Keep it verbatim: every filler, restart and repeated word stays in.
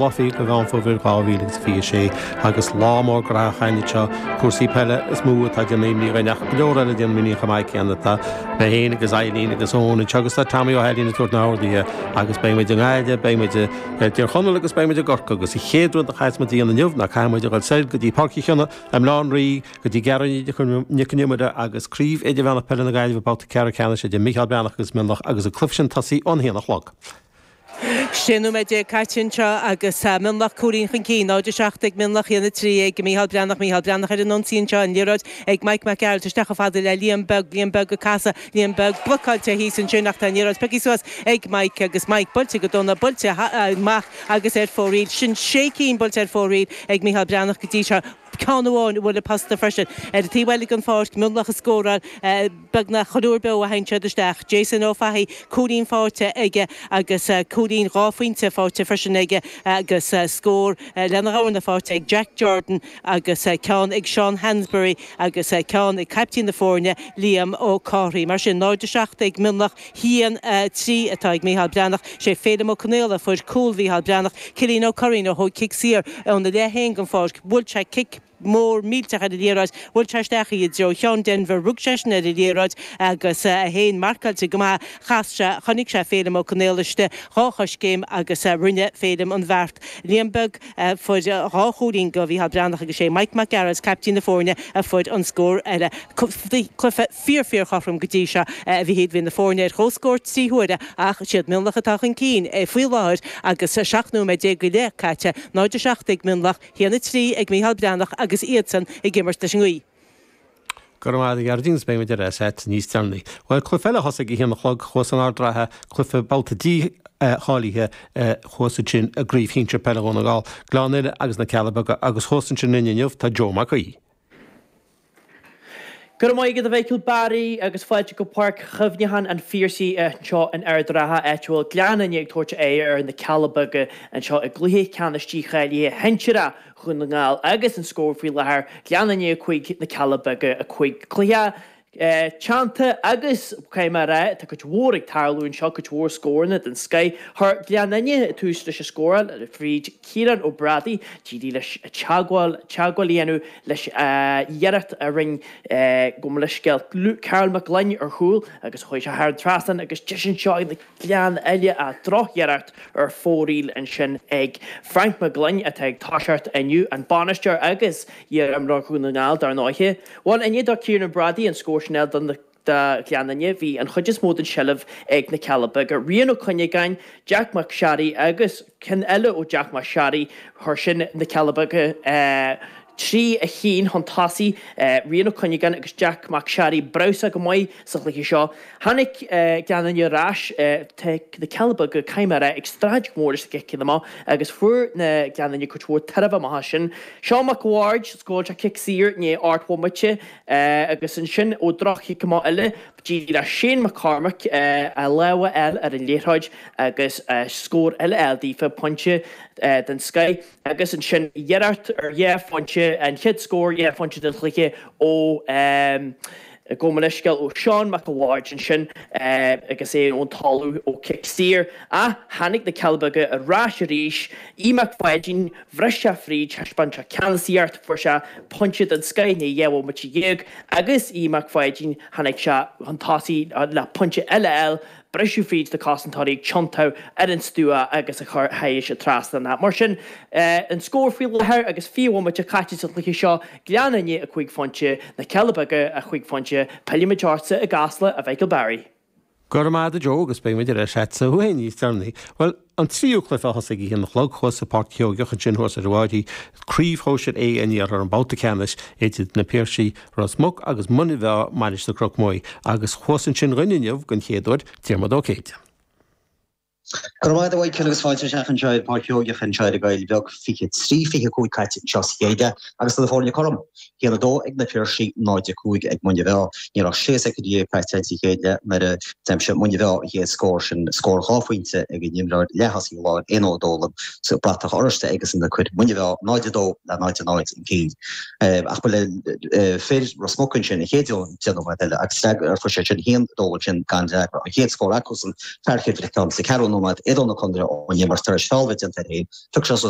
Lá fiche de Mheán Fómhair dhá mhíle agus fiche a sé agus lá mór graitheach againn anseo, cúrsaí peile is mó atá ag déanamh imní dhúinn ach go leor eile ag déanamh imní chomh maith céanna. Tá mé féin agus Eileen agus Eoin anseo agus tá Tommy Ó hAilín ag tabhairt na n-orduithe agus beidh muid i nGaillimh, beidh muid i dTír Chonaill agus beidh muid i gCorcaigh agus an chéad rud a chaithfeas muid a dhéanamh inniu ná caithfidh muid a dhul soir go dtí Páirc Uí Chionnaith i mBaile Átha an Rí go dtí Gearóid Nic an Iomaire agus Craobh Idirmheánach Peile na Gaillimhe babhta ceathrú ceannais idir Mícheál Breathnach agus Mionlach agus an cluiche sin tosaithe ón haon a chlog. Sé nóiméad déag caite anseo agus Mionlach cúilín chun cinn, náid a seacht ag Mionlach, a haon a trí ag Mícheál Breathnach, Mícheál Breathnach ar an ionsaí anseo, an liathróid ag Mike Mac Gearailt isteach chomh fada le Liam Beag, Liam Beag ag casadh, Liam Beag blocáilte thíos ansin ach tá an liathróid pioctha suas ag Mike agus Mike buailte go dona, buailte amach agus ar fóraoil. Sin sé cinn buailte ar fóraoil ag Mícheál Breathnach go dtí seo. Ceann amháin a bhuail an posta freisin. Ar an taobh eile den pháirc, Mionlach ag scóráil beagnach chuile uair beo a théann siad isteach. Jason Ó Fathaigh, cúilín faighte aige agus cúilín dhá phointe faighte freisin aige agus scór lena dhorna faighte ag Jack Jordan agus ceann ag Seán Hansberry agus ceann ag caiptín na foirne, Liam Ó Cárthaigh. Mar sin, náid a seacht ag Mionlach, haon a trí atá ag Mícheál Breathnach. Sé Féilim Ó Conaola a fuair cúl Mhícheál Breathnach. Cillian Ó Curraoin a thóg cic saor óna leath féin den pháirc. Bhuail sé cic mór millteach ar an liathróid, bhuail sé isteach í i dtreo Sheán Denvir, rug seisean ar an liathróid agus é féin marcáilte go maith, chas sé, chonaic sé Féilim Ó Conaola istigh dhá choiscéim agus rinne Féilim an bheart. Liam Beag a fuair dhá chúilín do Mhícheál Breathnach agus sé Mike Mac Gearailt, caiptín na foirne, a fuair an scór eile. Cluiche fíor fíor chothrom go dtí seo a Mhichíl, bhí na foirne ar comhscór trí huaire ach siad Mionlach atá chun cinn faoi láthair agus seacht nóiméad déag go leith caite, náid a seacht ag Mionlach, haon a trí ag Mícheál Breathnach agus iadsan ag imirt leis an ngaoth. Go raibh maith agat a Ghearóidín agus beidh muid ar ais agat níos deireanaí. Bhuel, cluiche eile a thosaigh ag a haon a chlog thuas in Ard an Rátha, cluiche babhta dícháilithe thuas ansin i gCraobh Shinsir Peile Dhún na nGall, Gleann Fhinne agus na Cealla Beaga agus thuas ansin linn inniu tá Joe Mac Aoidh. Go raibh maith agat a Mhichíl Barry agus fáilte go Páirc Chuimhneacháin an Phiarsaigh anseo in Ard an Rátha, áit a bhfuil Gleann Fhinne ag tabhairt aghaidh ar na Cealla Beaga anseo i gcluiche ceannais dícháilithe shinsearach Dhún na nGall agus an scór faoi láthair, Gleann Fhinne a cúig, Na Cealla Beaga a cúig. Cluiche teannta agus, caithfidh mé a rá, tá cuid mhór ag tarlú anseo, cuid mhór scóranna den scoith. Chuir Gleann Fhinne tús leis an scóráil fríd Ciarán Ó Brádaigh, d'éirigh leis teagmháil teagmháil a dhéanamh leis an iarracht a rinne gabh mo leithscéal Karl Mac Gloinn ar chúl agus chuaigh sé thar an trasnán agus deis anseo ag Gleann Fhinne ach drochiarracht ar fóraoil ansin ag Frank Mac Gloinn atá ag toiseacht inniu, an bainisteoir agus iar-imreoir Dhún na nGall dar ndóighe. Bhuel, i ndiaidh do Ciarán Ó Brádaigh an scór sin a fháil do na do Ghleann Fhinne, bhí an chuid is mó den tseilbh ag na Cealla Beaga. Rian Ó Cuinneagáin, Jack Mac Searraigh agus ceann eile ó Jack Mac Searraigh, chuir sin na Cealla Beaga trí a haon chun tosaigh. Rian Ó Cuinneagáin agus Jack Mac Searraigh breabhsach go maith sa chluiche seo. Tháinig Gleann Fhinne ar ais, tá na Cealla Beaga, caithfidh mé a rá, ag streachailt go mór leis na ciceanna amach agus fuair na Gleann Fhinne cuid mhór tairbhe amach as sin. Seán Mac a' Bhaird, scóráil sé cic saor i ndiaidh ocht mbomaite agus ansin ó droch-chic amach eile, d'éirigh le Shane McCormack a lámh a fháil ar an liathróid agus scór eile a fháil daofa, pointe den scoith. Agus ansin iarracht ar dhá phointe, an chéad scór dhá phointe den chluiche ó, gabh mo leithscéal, ó Seán Mac a' Bhaird ansin agus é ón talamh ó chic saor. Ach tháinig na Cealla Beaga ar ais arís. Aodh Mac Pháidín, bhris sé fríd, thaispeáin sé ceannasaíocht, fuair sé pointe den scoith i ndiaidh dhá bhomaite dhéag agus Aodh Mac Pháidín, tháinig sé chun tosaigh le pointe eile a fháil. Briseadh fríd na cosantóirí ag tiontú ar an stua agus a chur thairis an trasnán. Mar sin, an scór faoi láthair agus fiche bhomaite caite sa chluiche seo, Gleann Fhinne a cúig phointe, Na Cealla Beaga a chúig phointe. Pillfimid ortsa i gCasla, a Mhichael Barry. Go raibh maith agat a Joe agus beidh muid ar ais agatsa féin níos deireanaí. Bhuel, an tríú cluiche a thosaigh ag a haon a chlog thuas i bPáirc Sheoigeach ansin thuas ar an bhFairche, Craobh Shóisir A an Iarthair, an babhta ceannais idir na Piarsaigh, Ros Muc agus Muine Mheá, Mainistir Chnoc Muaidhe, agus thuas ansin dhúinn inniu den chéad uair, Diarmuid Ó Céide. Go raibh maith agat a Mhichael agus fáilte isteach anseo ar Pháirc Sheoigeach anseo ar an gCoill Bheag, fiche trí, fiche cúig caite anseo sa chéad leath agus tá na foirne cothrom. Haon a dó ag na Piarsaigh, náid a cúig ag Muine Mheá. Ní raibh sé soicind déag caite sa chéad leath nuair a d'aimsigh Muine Mheá an chéad scór sin, scór dhá phointe ag an imreoir leath-thosaí láir Éanna Ó Dólann sa bratach oráiste aigesan a chuir Muine Mheá náid a dó le náid a náid chun cinn. Ach ba le fir Ros Muc ansin an chéad deich nóiméad eile agus fuair siad sin a haon a dó ansin gan fhreagra. An chéad scór acusan, Fearghal Mhic Con sa ceathrú nóiméad. nóiméad idir na contaetha ón imirt tar éis feall a bheith déanta air féin. Phioc sé suas